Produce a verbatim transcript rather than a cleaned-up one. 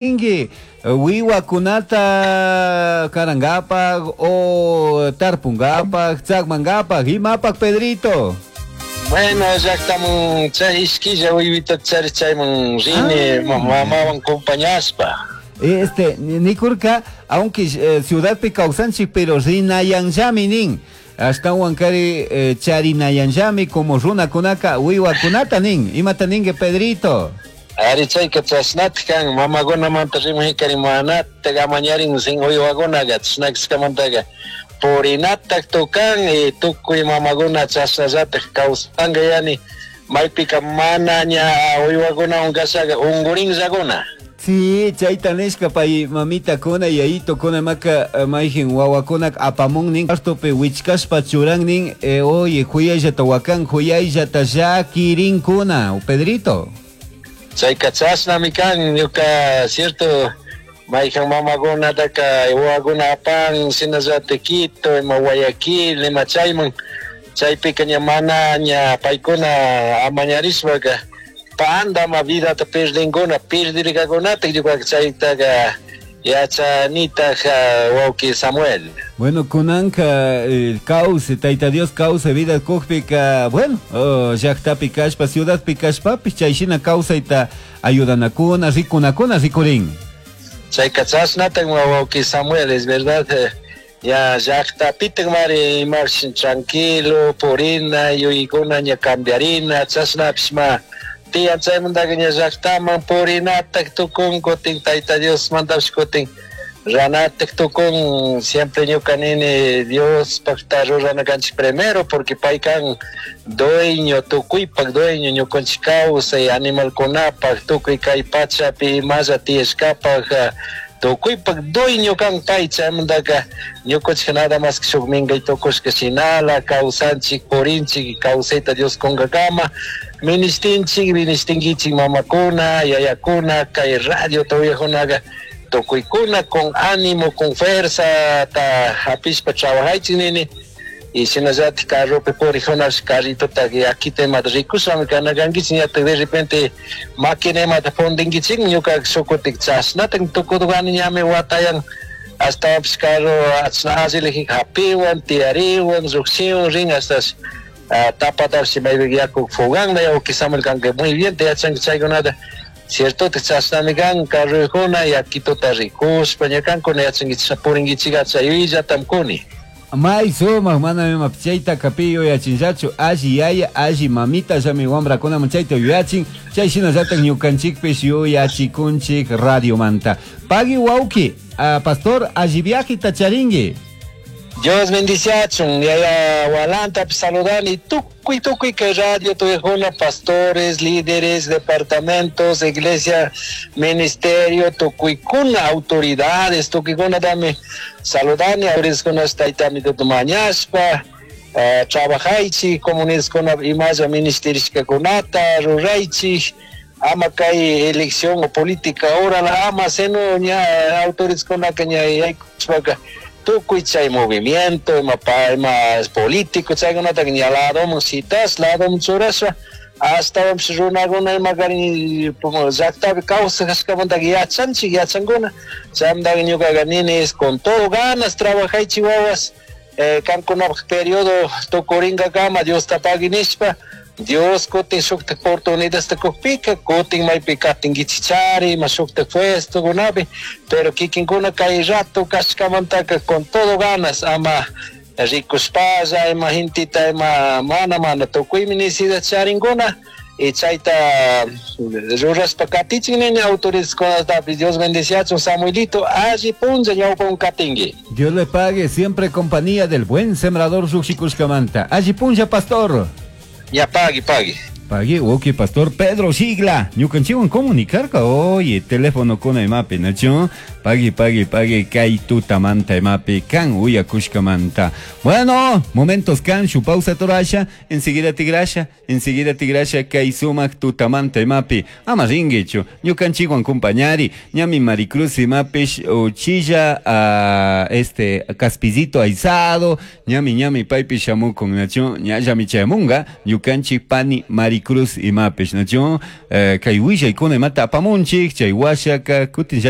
Ringi wiwakunata karangapak o tarpungapak tsakmangapak imapak, Pedrito? Bueno, llaqtaman chay ishkilla wiwita chari chayman rini ah. mamawan compañaspa. Este, nikurka, aunque eh, ciudadpi kawsanchik, pero rinayanllami nin. Ashtawan kari eh, charinayanllami como runakunaka wiwakunata nin. Imata ningue, Pedrito? Ari, chayka chashnatik kan mamakunamanta rimahikari manatak amañarin sin uywakunaqa chashnakashkamantaqa purinatak tukan y tukuy mamakuna chashnallatak kawsanka yani maypika mana ña uywakunawan kashaqa unkurinllakuna. Sí, chayta nishka pay mamitakuna yayitukuna maka eh, mayjin wawakunak apamun nin cuartopi wichkashpa churan nin eh, oye, huyayllata wakan, huyayllata llakirinkuna, Pedrito. Chayka chashnami kan ñuka cierto mayjan mamakunataka wawakuna apan shinallatik Quito ima Guayaquil ima chayman chaypika ña mana ña paykuna amañarishpaka pandama vidata perdinkuna perdirkakunatak ñuka chaytaka yachanitaj, wawki Samuel. Bueno, kunanka eh, kawsay, Tayta Dios kawsay vida kukpika, bueno, oh, llaqtapi kashpa, ciudadpi kashpapish chayshina kawsayta ayudanakuna, rikunakuna rikurin. Chayka chashnatak, wawki Samuel, es verdad, eh, ya llaqtapitak mari imash tranquilo purina yuyaykuna ña cambiarina chashnapish ma tiyan chaymantaka ña llaqtaman purinatak tukun kutin Tayta Dios mandapish kutin ranatak tukun. Siempre ñuka nini Dios pakta rurana kanchik primero, porque pay kan dueño, tukuypak dueño, ñukanchik kawsay animalkunapak, tukuy kay pachapi imalla tiyashkapak, tukuypak dueño kan pay. Chaymantaka ñukanchik nada más que shuk minkay tukushka shinala kawsanchik, purinchik kawsayta Dios kunkakama. Ministinchik, ministinkichik mamakuna, yayakuna, kay radio uyakunaqa tukuykuna con ánimo, con fuerza ta hapishpa trabajaychik nini y shinallatik carropi purikunapish carritota yakita imata rikushpami kana kankichik ñatak de repente máquina imata fundinkichik. Ñuka shukutik chashnatak tukudukani ñami watayan ashtawanpish carro allilijika hapiwan tiyariwan llukshiwan rin hasta tapatapish maypika yaku fuganla. Wawki Samuel, kanka muy bien te yachanki chaykunata, cierto? Chashnami kan carrokuna yakituta rikushpa ña kankuna yachankichik purinkichik chay yuyayllatam kuni. May sumak, mana ima chayta pi yuyachinllachu, alli yaya, alli mamita llami wambrakunaman chayta yuyachin, chay shinallatak ñukanchikpish yuyachikunchik radiomanta. Pagui, wawki, uh, pastor, alli viajita charingui. Dios bendiciachun, yaya Walanta saludani tukuy tukuy kay radio tuyajuna pastores, líderes, departamentos, iglesia, ministerio, tukuykuna autoridades, tukuykuna dame saludani autoridades taytami mañashpa uh, trabajaychik comunidadkuna imalla ministerishkakunata ruraychik ama kay elección o política ahora la ama seno ña autoridadkunaka ña yaykushpaka tukuy chay movimiento ima pa ima político chaykunata ña ladoman citas ladoman churashpa ashtawanpish runakuna ima karin llaktapi kawsashkamantaka yachanchik yachankuna. Chaymantaka ñukaka nini es con todo ganas trabajaychik wawas eh, kankunapak periodo tukurinkakama Diosta pagui nishpa Dios kutin shuktak oportunidadta kukpika kutin maypi katinkichik ima shuktak puestokunapi, pero kikinkuna kay rato kashkamantaka con todo ganas ama rikushpalla ima gentita ima mana mana tukuymi necesidad charinkuna y chayta rurashpa katichik nini autoridadkunatapish. Dios bendiciachun, Samuelito, alli punlla ñawpawan katinki. Dios le pague, siempre compañía del buen sembrador lluqshikushkamanta. Alli punlla, pastor. Ya, pagui, pagui. Pagui, ok, pastor Pedro Sigla. Ñukanchikwan comunicarka, oye, teléfono kuna imapi, nachu. Pagui, pagui, pagui, kay tutamanta imapi, kan uyakushkamanta. Bueno, momentos kan, shu pausa torasha, enseguida tigrasha, enseguida tigrasha, kay sumak tutamanta imapi. Ama ringuichu, ñukanchikwan compañari, ñami Maricruz imapish, uchilla, uh, este, caspizito aizado, ñami, ñami, paypi shamukun, nachu, ñallami chayamunga, ñukanchik pani Maricruz. Maricruz imapish, nachu? Eh, kay willaykuna imata apamunchik, chay washaka kutin